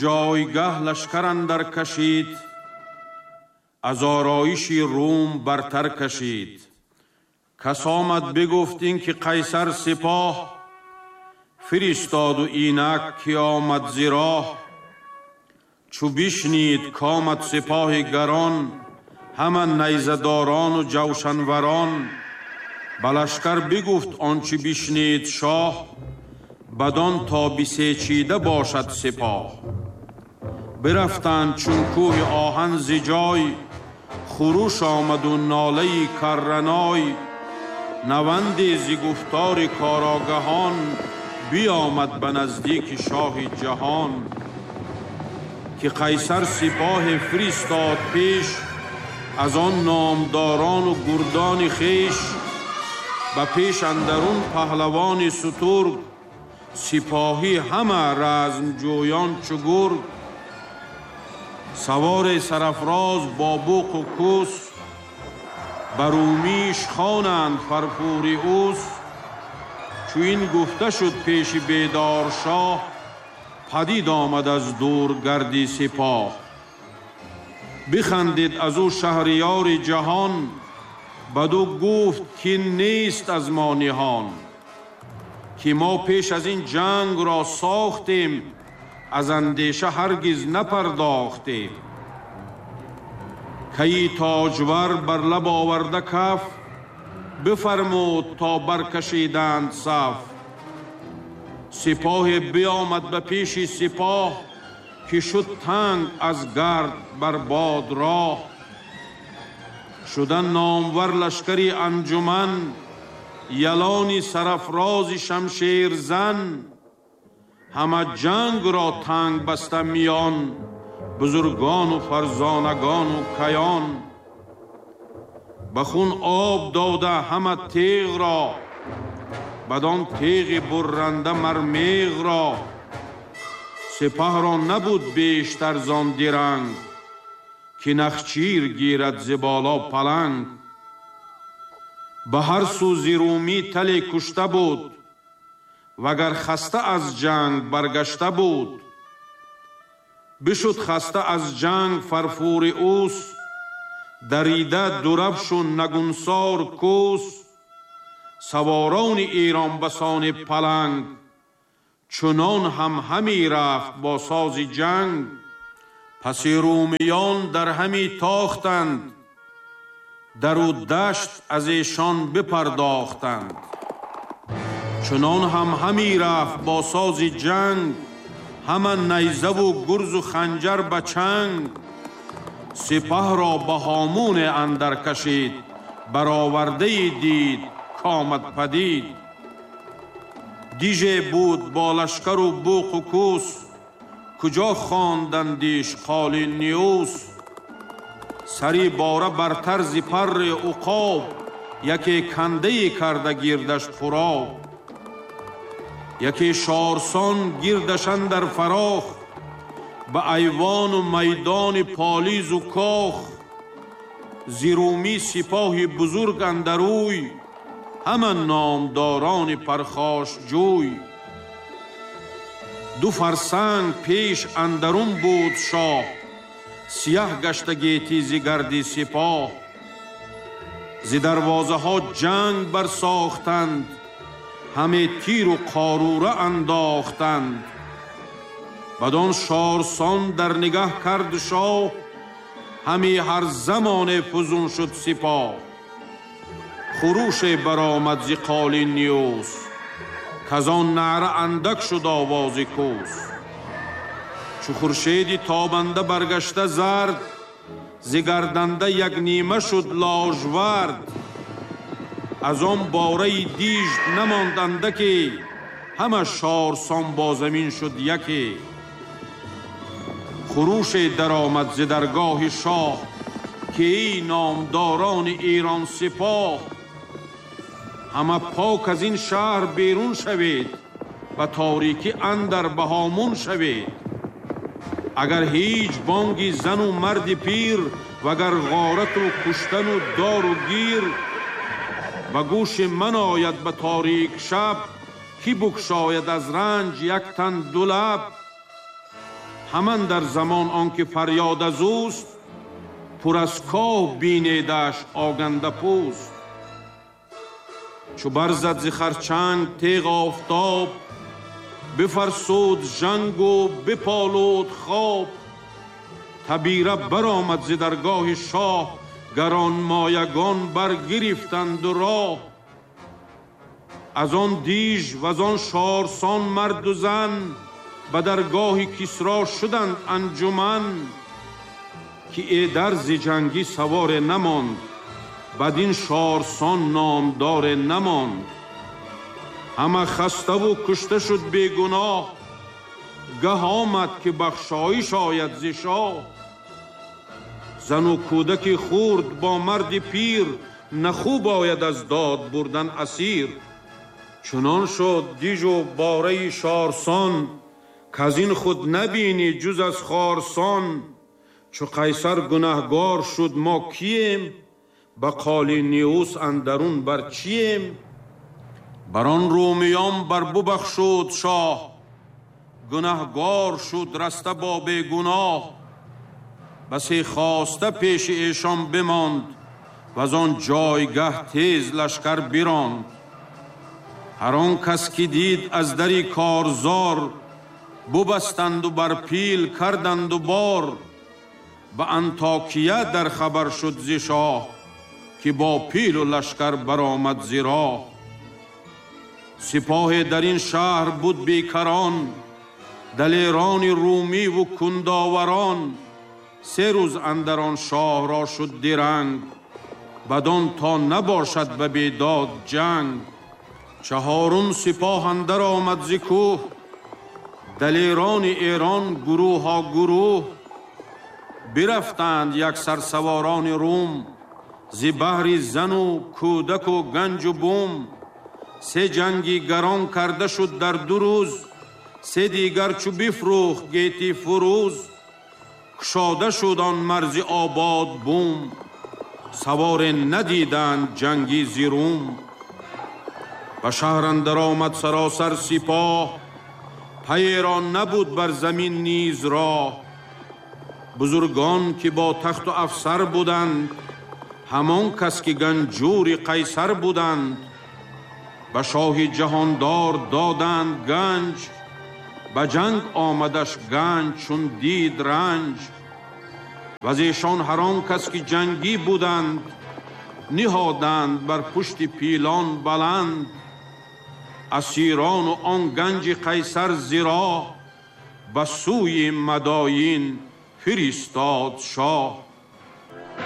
Ҷойгаҳ лашкар андар кашид, аз ороиши Рум бартар кашид. Кас омад бигуфт ин ки Қайсар сипоҳ фиристоду инак ки омад зи роҳ. Чу бишнид комад сипоҳи гарон, ҳама найзадорону ҷавшанварон. Ба лашкар бигуфт он чи бишнид шоҳ, бадон то бисечида бошад сипоҳ. Бирафтанд чун кӯҳи оҳан зи ҷой, хуруш омаду нолаи карраной. Наванде зи гуфтори корогаҳон биомад ба наздики шоҳи ҷаҳон. Ки Қайсар сипоҳе фиристод пеш, аз он номдорону гурдони хеш. Ба пеш андарун паҳлавони сутург, сипоҳӣ ҳама размҷӯён чу гург. Савори сарафроз бо буқу кӯс, ба румиш хонанд фарфури ӯс. Чу ин гуфта шуд пеши бедор шоҳ, падид омад аз дур гарди сипоҳ. Бихандид аз ӯ шаҳриёри ҷаҳон, баду гуфт ки нест аз мо ниҳон. Ки мо пеш аз ин ҷанг ро сохтем, аз андеша ҳаргиз напардохтем. Кайи тоҷвар бар лаб оварда каф, бифармуд то баркашиданд саф. Сипоҳе биомад ба пеши сипоҳ, ки шуд танг аз гард бар бод роҳ. Шуда номвар лашкари анҷуман, ялони сарафрози шамшерзан. Ҳама ҷанг ро танг баста миён, бузургону фарзонагону каён. Ба хун об дода ҳама теғ ро, бадон теғи бурранда мар меғ ро. Сипаҳ ро набуд бештар зон диранг, ки нахчир гирад зи боло паланг. Ба ҳар сӯ зи румӣ тале кушта буд, вагар хаста аз ҷанг баргашта буд. Бишуд хаста аз ҷанг фарфури ӯс, дарида дурафшу нагунсор кӯс. Саворони Эрон басони паланг, чунон ҳам ҳами рафт бо сози ҷанг. Паси румиён дар ҳами тохтанд, дару дашт аз эшон бипардохтанд. Чунон ҳам ҳами рафт бо сози ҷанг, ҳама найзаву гурзу ханҷар ба чанг. Сипаҳро ба ҳомуне андар кашид, баровардае дид комад падид. Диже буд бо лашкару буқу кӯс, куҷо хондандиш қоли ниюс. Сари бора бар тарзи парри уқоб, яке кандае карда гирдаш пуроб. Яке шорсон гирдаш андар фарох, ба айвону майдони полизу кох. Зи румӣ сипоҳи бузург андарӯй, ҳама номдорони пархошҷӯй. Ду фарсанг пеш андарун буд шоҳ, сияҳ гашта гетӣ зи гарди сипоҳ. Зи дарвозаҳо ҷанг барсохтанд, ҳаме тиру қорура андохтанд. Бадон шорсон дар нигаҳ кард шоҳ, ҳами ҳар замоне фузун шуд сипоҳ. Хуруше баромад зи қоли ниюс, казон наъра андак шуд овози кӯс. Чу хуршеди тобанда баргашта зард, зи гарданда як нима шуд ложвард. Аз он бораи диж намонд андаке, ҳама шорсон бо замин шуд яке. Хуруше даромад зи даргоҳи шоҳ, ки эй номдорони Эрон сипоҳ, ҳама пок аз ин шаҳр берун шавед, ба торикӣ андар ба ҳомун шавед. Агар ҳеҷ бонги зану марди пир, вагар ғорату куштану дору гир ба гӯши ман ояд ба торик шаб, ки букшояд аз ранҷ як тан ду лаб. ҳаман дар замон он ки фарёд аз ӯст, пур аз коҳ бинедаш оганда пӯст. Чу барзад зи харчанг теғ офтоб, бифарсуд жангу биполуд хоб. Табира баромад зи даргоҳи шоҳ, гаронмоягон баргирифтанду роҳ. Аз он диж ваз он шорсон марду зан, ба даргоҳи Кисро шуданд анҷуман. Ки эдар зи ҷангӣ саворе намонд, бадин шорсон номдоре намонд. Ҳама хаставу кушта шуд бегуноҳ, гаҳ омад ки бахшоиш ояд зи шоҳ. Зану кӯдаки хурд бо марди пир, нахуб ояд аз дод бурдан асир. Чунон шуд дижу бораи шорсон, каз ин худ набинӣ ҷуз аз хорсон. Чу Қайсар гунаҳгор шуд мо кием, ба Қолиниус андарун бар чием? Бар он румиён бар бубахшуд шоҳ, гунаҳгор шуд раста бо бегуноҳ. Басе хоста пеши эшон бимонд, ваз он ҷойгаҳ тез лашкар биронд. Ҳар он кас ки дид аз дари корзор, бубастанду бар пил карданду бор. Ба Антокия дар хабар шуд зи шоҳ, ки бо пилу лашкар баромад зи роҳ. Сипоҳе дар ин шаҳр буд бекарон, далерони румиву кундоварон. Се рӯз андар он шоҳ ро шуд диранг, бадон то набошад ба бедод ҷанг. Чаҳорум сипоҳ андар омад зи кӯҳ, далерони Эрон гурӯҳҳо гурӯҳ. Бирафтанд як сарсаворони Рум, зи баҳри зану кӯдаку ганҷу бум. Се ҷанги гарон карда шуд дар ду рӯз, се дигар чу бифрӯхт гети фурӯз. Кушода шуд он марзи обод бум, саворе надиданд ҷанги зи Рум. Ба шаҳр андар омад саросар сипоҳ, пайеро набуд бар замин низ роҳ. Бузургон ки бо тахту афсар буданд, ҳамон кас ки ганҷури Қайсар буданд. Ба шоҳи ҷаҳондор доданд ганҷ, ба ҷанг омадаш ганҷ чун дид ранҷ. Ваз эшон ҳар он кас ки ҷангӣ буданд, ниҳоданд бар пушти пилон баланд. Асирону он ганҷи Қайсар зи роҳ, ба сӯи Мадоин фиристод шоҳ.